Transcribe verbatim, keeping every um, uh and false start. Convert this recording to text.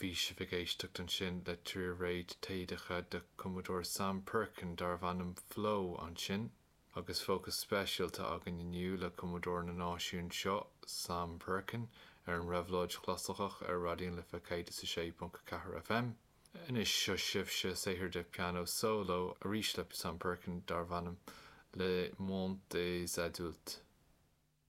Bhí sibh ag éisteacht ansin le trí réad taoideacha de cumadóir Sam Perkin darbh ainm Flow ansin, agus fócas speisialta againn inniu le cumadóir na náisiún seo Sam Perkin ar an Réabhlóid Chlasaiceach ar Raidió na Life céad is a sé ponc a ceathair FM. Anois seo sibhse saothar de piano solo arís le Sam Perkin darbh ainm Le Monde des Adultes.